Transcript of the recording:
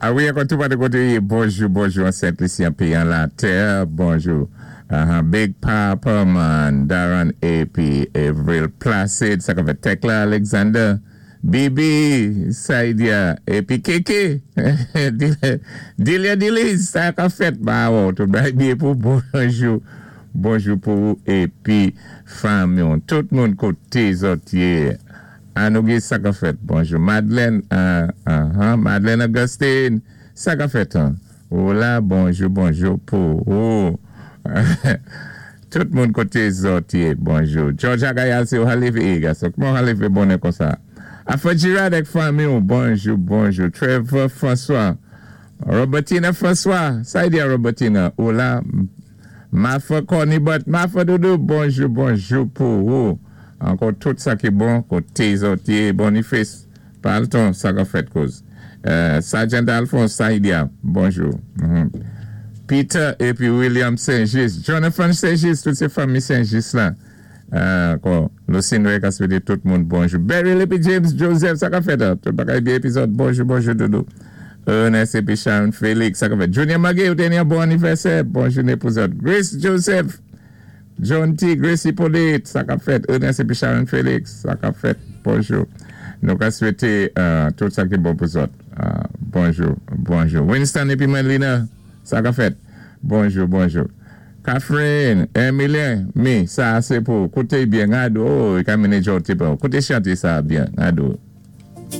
A wi, ankò tou patou koté ou yé, bonjou, bonjou an Sent Lisi, an péyi an latè, bonjou. Big Papa man, Daron épi Avril Placide, sa k ap fèt Tekla Alexander, Bibi, Saidia, épi Keke, Delia Deliz, sa k ap fèt? M pa wè w, tout bagay byen pou ou? Bonjou, bonjou pou ou épi fanmi w, tout moun koté zòt yé. Anouguy sa kap fèt bonjou Madeleine ahh Madeleine Augustine sa kap fèt an ou la bonjou bonjou pou ou tout moun kote zòt ye bonjou George Agayal se ou ha leve e gason kman ou ha leve bonè konsa Afro Girard ak fanmi ou bonjou bonjou Trevor François Robertina François sa y di a Robertina ou la Martha Cornibot Martha Doudou bonjou bonjou pou ou Ankò tout sa ki bon kote zòt ye Boniface Palton sa kap fèt kouz Sergeant Alphonse Saidia bonjou Peter epi William Saint Juste Jonathan Saint Juste tout se fanmi Saint Juste la ankò Lucine Rey ka swete tout moun bonjou Beryl epi James Joseph sa kap fèt tout bagay byen epi zòt bonjou bonjou doudou Ernest epi Sharon Felix sa kap fèt Junior Maguey ou te gen yon bon anivèsè bon jounen pou zòt Grace Joseph John T. Grace Hyppolite, sa kap fèt? Ernest epi Sharon Felix, sa kap fèt? Bonjou. Nou ka swete tout sa ki bon pou zòt. Bonjou, bonjou. Winston epi Merlina, sa kap fèt? Bonjou, bonjou. Catherine, Emilien, mi, sa a se pou ou. Koute byen, gad, oh, i ka mennen jòw te pran. Koute chante sa a byen, gad ou.